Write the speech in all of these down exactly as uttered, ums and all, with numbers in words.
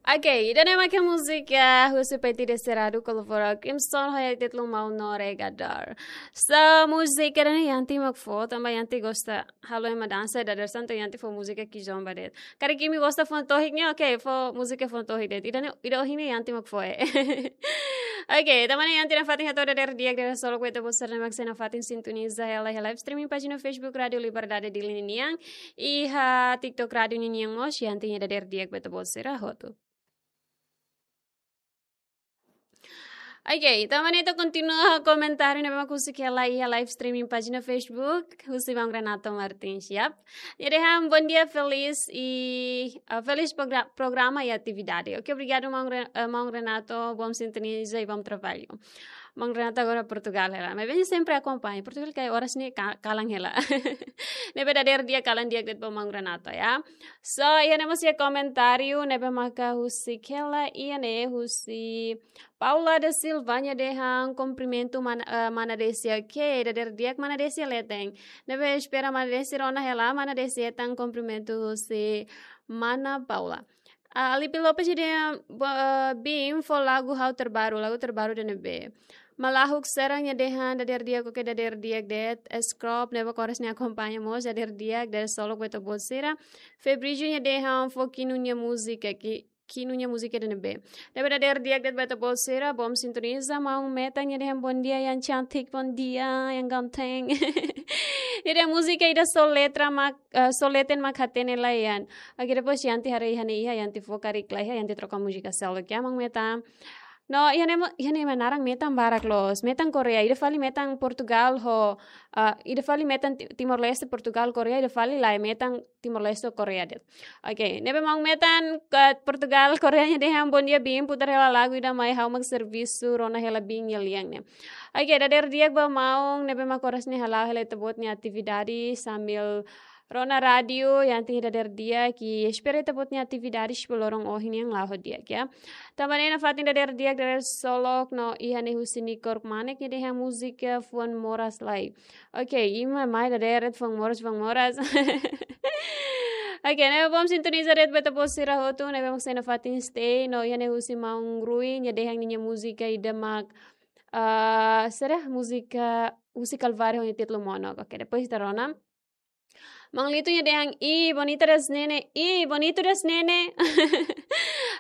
Oke, ida-ne'e mak múzika husi Paetide Seradu, kolaboradu ho Crimson, ho títulu Maun Navegadór. So, múzika ida-ne'e Yanti mak fó, tanba Yanti gosta halo ema dansa, dadeer-saan entaun Yanti fó múzika ki'ik ba de'it. Karik imi gosta fuan tohik ne'e, oke, fó múzika fuan tohik de'it. Ida-ne'e, ida ohin ne'e Yanti mak fó, eh. Oke, tanba ne'e Yanti nafatin hato'o dadeer di'ak, dadeer solok ba ita-boot sira ne'ebé mak sei nafatin sintoniza hela iha live streaming pájina Facebook Rádio Liberdade Dili ninian, iha TikTok Rádio ninian mós, Yanti nia dadeer di'ak ba ita-boot sira hotu. Oke, entaun ita kontinua komentáriu ne'ebé mak husik hela iha live streaming pájina Facebook, husi Maun Renato Martins, yap. Nia dehan, "Bom dia, feliz e, ah, feliz progra-, programa e atividade." Oke, obrigadu, Maun Re-, eh, Maun Renato, bom sintoniza e bom trabalho. Maun Renato agora Portugal hela. Mas bem sempre acompanha. Portugal karik oras ne'e ka-, kalan hela. Ne'ebé dadeer di'ak, kalan di'ak de'it ba Maun Renato, ya. So, iha ne'e mós iha komentáriu ne'ebé maka husik hela, iha ne'e husi Paula da Silva, nia dehan, "Kumprimentu mana, eh, mana Desi, oke, dadeer di'ak mana Desi leten." Ne'ebé espera mana Desi rona hela, mana Desi hetan kumprimentu husi mana Paula. Ah, Alipe Lopes dehan, bo-, eh, "Biin fó lagu ha'u terbaru, lagu terbaru ida ne'ebé." Malahuk Serang nia dehan, "Dadeer di'ak, oke, dadeer di'ak de'it." Scrop ne'ebé oras ne'e akompaña mós, "Dadeer di'ak, dadeer solok ba ita-boot sira." Febrígio nia dehan, "Fó Kinu nia múzika, ki-, Kinu nia múzika ida ne'ebé." Ne'ebé dadeer di'ak de'it ba ita-boot sira, bom sintoniza. Maun Metan nia dehan, "Bom dia yang cantik, bom dia yang ganteng." Nia dehan múzika ida só letra mak, eh, só leten mak hatene lai an. Oke, depois Yanti haree iha ne'e iha, Yanti fó karik la iha, Yanti troka múzika seluk, ya, Maun Metan. No, iha ne'e mo-, iha ne'e ema naran Metan barak loos. Metan Korea, ida fali Metan Portugal ho, ah, ida fali Metan Ti-, Timor-Leste, Portugal, Korea, ida fali lae Metan Timor-Leste ho Korea de'it. Oke, ne'ebé Maun Metan ke Portugal, Korea nia dehan, "Bom dia, Biin, putar hela lagu ida mai, ha'u mak servisu rona hela Biin nia lian ne'e." Oke, dadeer di'ak ba maun ne'ebé mak oras ne'e hala'o hela ita-boot nia atividade sambil rona rádiu, Yanti dadeer di'ak, i espera ita-boot nia atividade ba loron ohin nian la'o ho di'ak, ya. Tanba ne'e nafatin dadeer di'ak, dadeer solok, no iha ne'e husi Nikor Manek nia dehan múzika fuan moras lai. Oke, imi mai dadeer de'it fuan moras, fuan moras. Oke, ne'ebé bom sintoniza de'it ba ita-boot sira hotu, ne'ebé mak sei nafatin stay, no iha ne'e husi Maun Rui, nia dehan ninia múzika ida mak, ah, saida, múzika husi Kalváriu ho títulu Monok. Oke, depois ita rona. Maun Litu nia dehan, "Ih, bonita das nene, ih, bonito das nene."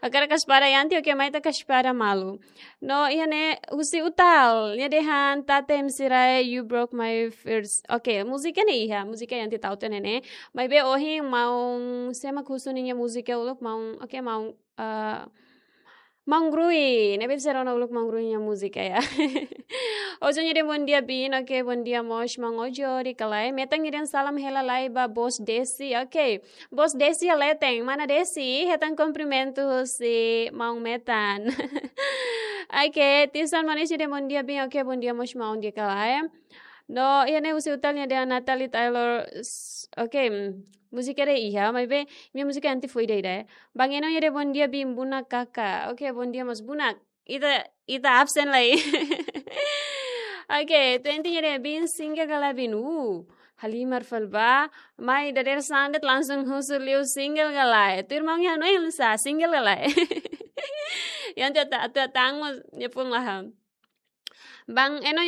Agora kaspada Yanti, oke, mai ita kaspada malu. No, iha ne'e husi Utal, nia dehan, "Tate M C Rai, you broke my first." Oke, múzika ne'e iha, múzika Yanti tau tiha ne'e. Maibé ohin maun, sé mak husu ninia múzika uluk, maun, oke, maun, ah, Maun Rui, ne'ebé sei rona uluk Maun Rui nia múzika, ya. Ojo nia dehan bom dia Biin, oke, bom dia mós Maun Ojo, di'ak ka lae. Metan nia dehan salam hela lai ba Bos Desi, oke. Bos Desi leten, mana Desi, hetan kumprimentu husi Maun Metan. Oke, Tilson Manis nia dehan bom dia Biin, oke, bom dia mós maun, di'ak ka lae. No, iha ne'e husi Utal nia dehan Natalie Taylor, s-, oke, mm, múzika ida iha, maibé, imi-nia múzika Yanti fó ida-idak, eh. Bang Eno nia dehan bom dia Biin, bunak kaka. Oke, bom dia mós bunak. Ita, ita absen lai. Oke, Twenty nia dehan Biin single ka lae Biin. Uh, halimar fali ba, mai dadeer-saan de'it langsung husu liu single ka lae. Tuir maun nia hanoin oinsá, single ka lae. Yanti atu, atu, atu tanggung nia pun lahan. Bang Eno